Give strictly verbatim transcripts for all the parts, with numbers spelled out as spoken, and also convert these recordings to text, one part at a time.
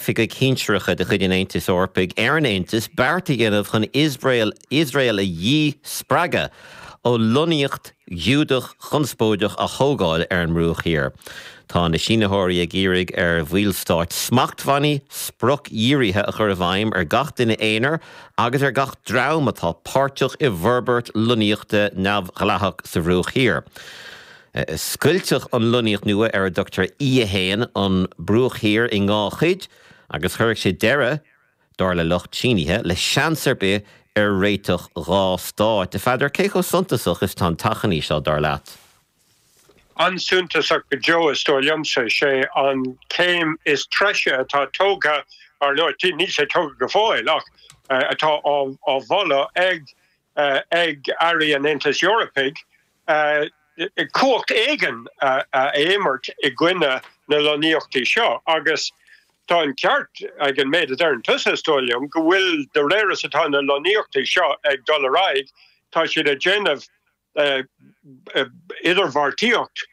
Oifigigh shinsearacha de chuid an Aontais Eorpaigh ar an Aontas beart a dhéanamh chun Iosrael Iosrael a dhíspreagadh ó lonnaíocht Ghiúdach chonspóideach a thógáil ar an mBruach Thiar. Tá na sínitheoirí ag iarraidh ar bhallstáit smachtbhannaí spriocdhírithe a chur i bhfeidhm ar gach duine aonair agus ar gach dream atá páirteach i bhforbairt lonnaíochta neamhdhleathach sa Bhruach Thiar. Scoiltfeadh an lonnaíocht nua ar a dtugtar E a haon an Bruach Thiar i dhá chuid agus chuirfeadh sé deireadh dar le lucht sínithe le seans ar bith ar réiteach dhá stát. A Pheadair cé chomh suntasach is atá an t-achainí seo dar leat. An-suntasach go deo is dóigh liomsa sé an céim is treise atá tógtha ar nó níl sé tógtha go fóill ach atá á mholadh ag ag airí an Aontais Eorpaigh cumhacht éigin a imirt i gcoinne na lonnaíochtaí seo agus tá an ceart ag an méid a deireann tusa is dóigh liom go bhfuil de réir is atá na lonnaíochtaí seo ag dul ar aghaidh tá siad ag déanamh idirbheartaíocht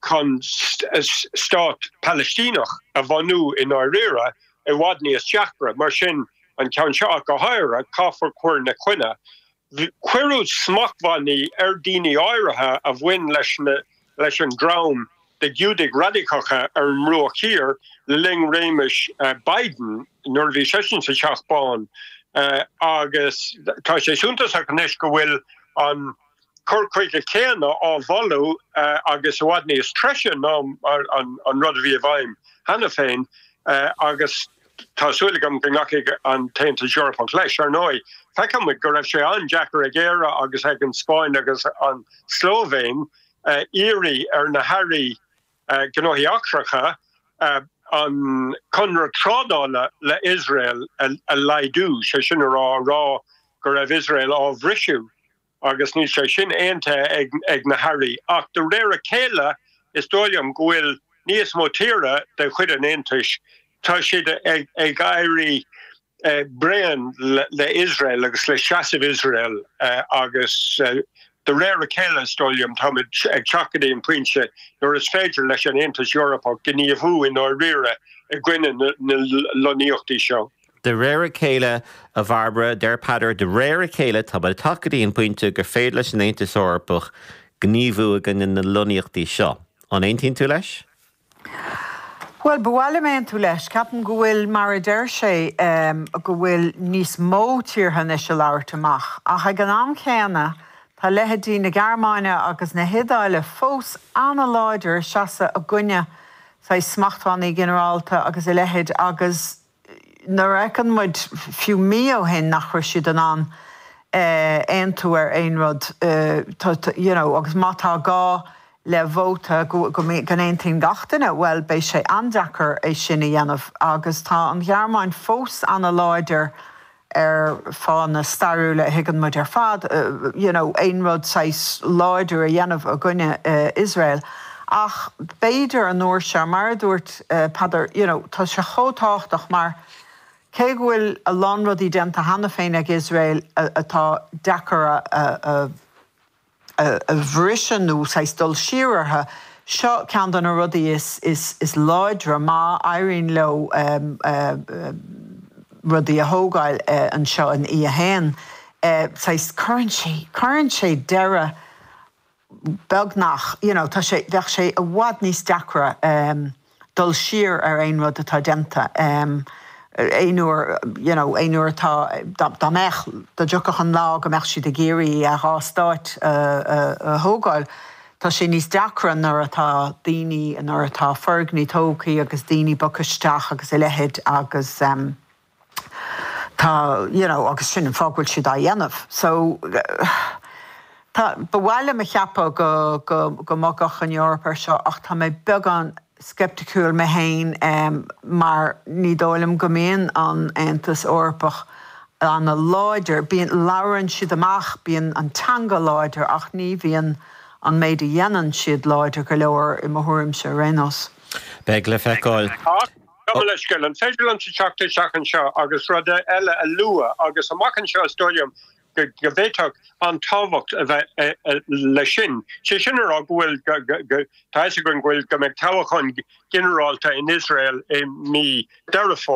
chun stát Palaistíneach a bhunú i ndáiríre i bhfad níos deacra mar sin an ceann seo go háirithe caithfear cur ina choinne. Cuireadh smachtbhannaí ar daoine áirithe a bhain leis na leis an dream de Ghiúdaigh radicacha ar an mBruach Thiar le linn réimeas Biden nuair a bhí seisean sa Teach Bán agus tá sé suntasach anois go bhfuil an cur chuige céanna á mholadh agus i bhfad níos treise ná an rud a bhí i bhfeidhm cheana féin agus tá súil agam go nglacfaidh an tAontas Eorpach leis. Ar ndóigh, feicimid go raibh sé an-deacair ag Éire agus ag an Spáinn agus an Slóivéin iarraidh ar na hairí gnóthaí eachtracha an conradh trádála le Iosrael a laghdú, sé sin a rá rá go raibh Iosrael á bhriseadh agus níl sé sin aontaithe ag na hairí. Ach de réir a chéile is dóigh liom go bhfuil níos mó tíortha de chuid an Aontais, tá siad ag éirí bréan le Iosrael agus le seasamh Iosrael agus de réir a chéile is dóigh liom táimid ag teacht go dtí an pointe nuair is féidir leis an Aontas Eorpach gníomhú i ndáiríre i gcoinne na lonnaíochtaí seo. De réir a chéile a Bhairbre, deir Peadar, de réir a chéile tá ag teacht go dtí an pointe gur féidir leis an Aontas Eorpach gníomhú i gcoinne na lonnaíochtaí seo. An aontaíonn tú leis? Well, ba mhaith liom aontú leis, ceapaim go bhfuil mar a deir sé go bhfuil níos mó tíortha anois ag labhairt amach, ach ag an am chéanna tá leithéidí na Gearmáine agus na hIodáile fós an-láidir seasamh i gcoinne saghas smachtbhannaí ginearálta agus a leithéid agus nuair a fheiceann muid fiú mí ó shin nach raibh siad in ann aontú ar aon rud you know, agus má tá gá le vóta go n-aontaíonn gach duine, well beidh sé an-deacair é sin a dhéanamh agus tá an Ghearmáin fós an-láidir ar fáthanna stairiúla a thuigeann muid ar fad, you know, aon rud saghas láidir a dhéanamh i gcoinne Iosrael. Ach b'fhéidir an uair seo mar a dúirt Peadar, you know, tá sé chomh tábhachtach mar cé go bhfuil a lán rudaí déanta cheana féin ag Iosrael atá deacair a a bhriseadh nó saghas dul siar orthu, seo ceann de na rudaí is is is láidre má éiríonn leo rudaí a thógáil anseo in E a haon. Saghas cuireann sé cuireann sé deireadh beagnach, you know, tá sé bheadh sé i bhfad níos deacra dul siar ar aon rud atá déanta. Aon uair, you know, aon uair atá dá mbeadh dá dtiocfadh an lá go mbeadh siad ag iarraidh dhá stát a thógáil, tá sé níos deacra nuair atá daoine nuair atá foirgnimh tógtha agus daoine bogtha isteach agus a leithéid agus tá you know, agus sin an fáth go bhfuil siad á dhéanamh. So tá ba mhaith liom a cheapadh go go go mbogfadh an Eoraip ar seo ach tá mé beagán sceipticiúil mé féin mar ní dóigh liom go mbíonn an Aontas Eorpach an-láidir. Bíonn labhrann siad amach, bíonn an teanga láidir ach ní bhíonn an méid a dhéanann siad láidir go leor i mo thuairimse ar aon nós. Beidh le feiceáil. Ach gabh mo leithscéal, an féidir liomsa teacht isteach anseo agus rud eile a lua agus amach anseo is dóigh liom go bhféadfadh an tábhacht a bheith leis sin. Sé sin a rá go bhfuil tá go bhfuil go mbeidh toghchán ginearálta in Israel i mí Deireadh Fómhair.